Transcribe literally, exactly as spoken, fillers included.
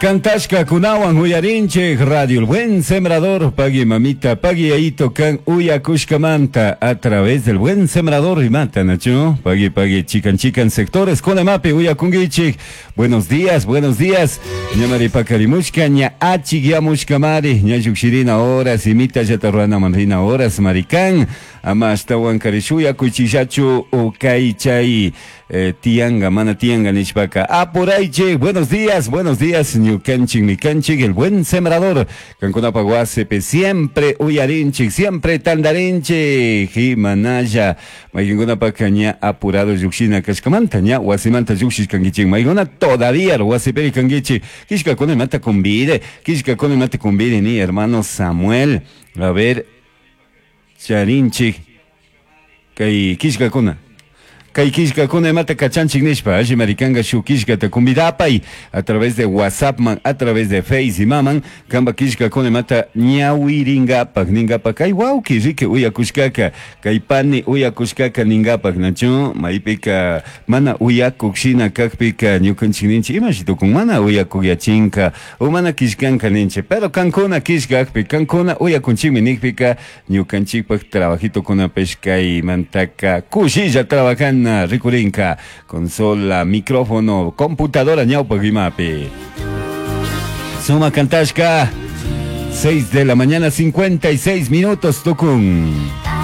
Cantashka kunawan uyarinchik Radio El Buen Sembrador, pagui mamita, pagui ayito kan uyakushkamanta a través del Buen Sembrador y mata, Nacho, pagui pagui chican chican sectores con mapi uyakungichik. Buenos días, buenos días. Ñamari pakarimushka ña achikyamushkamari, ña llukshirina horas, imita llata manrina horas marikan, ama ashtawan karishuya kuchillachu ukay chay eh, tianga, mana tianga nishpaka. Apuraychik, buenos días, buenos días, ñukanchik, mikanchik, el buen sembrador. Kankunapa wasipi siempre uyarinchik, siempre tandarinchik, himanaya. Maykunapaka ña apurado llukshina kashkamanta, ña wasimanta llukshishkankichik, maykuna todavía wasipiri kankichik. Kishkakuna imata convide, kishkakuna imata convide ni hermano Samuel. A ver, charinchik, kay kishkakuna. Kay kishkakuna imata kachanchik nishpa, alli marikanga shuk kishkata convidapay a través de WhatsApp man, a través de Face imaman, kamba kishkakuna imata ñawiringapak, ningapak, kay wawki riki uyakushkaka, kay pani uyakushkaka ningapak, nachu, maypika mana uyakuk shina kakpika ñukanchik ninchik, imashi tukun mana uyakuk yachinka, o mana kishkanka ninchik, pero kankuna kishkakpi, kankuna uyakunchikmi nikpika, ñukanchikpak trabajitokunapish kaymantaka kushilla trabajan rikurinka, consola, micrófono, computadora ñawpak imapi. Suma kantashka, seis de la mañana, cincuenta y seis minutos, tukun.